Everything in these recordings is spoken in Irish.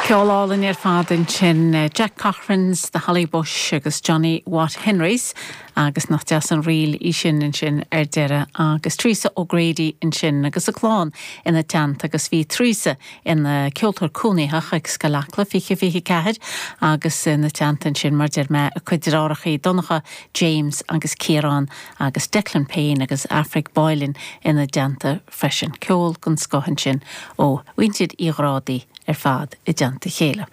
Ceol álainn ar fad ansin, Jack Cochrane's The Holly Bush agus Johnny Watt Henry's agus nach deas an ríl í sin ansin ar deireadh agus Teresa O'Grady ansin agus a clann ina teannta agus bhí Teresa ina ceoltóir cónaitheach ag Scoil Acla 2024 agus ina teannta ansin mar deir mé a cuid deartháireachaí Donncha, James agus Ciarán agus Declan Payne agus Aifric Boylan ina dteannta freisin. Ceol den scoth ansin ó mhuintir Uí Ghrádaigh ar fad i dteannta a chéile.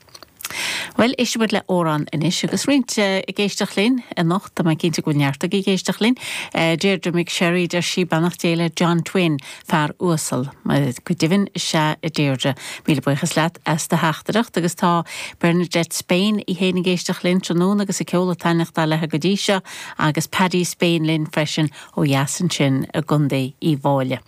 Bhuel, éistfidh muid le amhrán anois agus roinnt ag éisteacht linn anocht, tá mé cinnte go bhfuil neart agaibh ag éisteacht linn. Deirdre McSherry, deir sí, beannacht Dé le John Twin, fear uasal. Go deimhin, is ea, a Deirdre. Míle buíochas leat as do theachtaireacht agus tá Bernadette Spain í féin ag éisteacht linn tráthnóna agus an ceol ag taitneachtáil léi go dtí seo agus Paddy Spain linn freisin ó dheas ansin i gContae Uíbh Fhailí.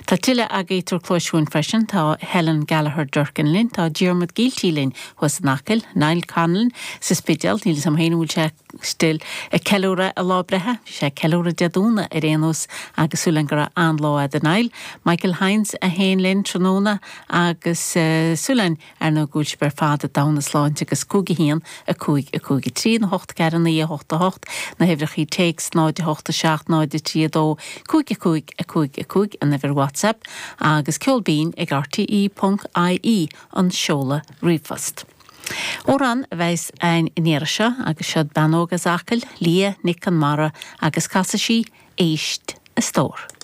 Tá tuilleadh agaibh ag tabhairt cluais chugainn freisin, tá Helen Gallagher Durkin linn, tá Diarmuid Gielty linn thuas in Acaill, Niall Conlon sa Spidéal, níl 'fhios a'm féin an bhfuil sé still ag ceiliúradh a lá breithe, bhí sé ag ceiliúradh Dé Domhnaigh ar aon nós agus súil againn go raibh an-lá a'd a Niall. Michael Hynes é féin linn tráthnóna agus súil againn Ar ndóigh go bhfuil sibh ar fad i dtogha na sláinte agus 5 1 5 5 3 nó 8 4 9 8 8 na huimhreachaí téacs 0 8 7 0 3 2 5 5 5 5 an uimhir WhatsApp agus ceol binn ag rte ponc ie an seoladh ríomhphost. Amhrán a bheas againn an iarraidh seo agus seod bean óg as Acaill, Leah Nic Con Mara agus casfaidh sí Éist a Stór.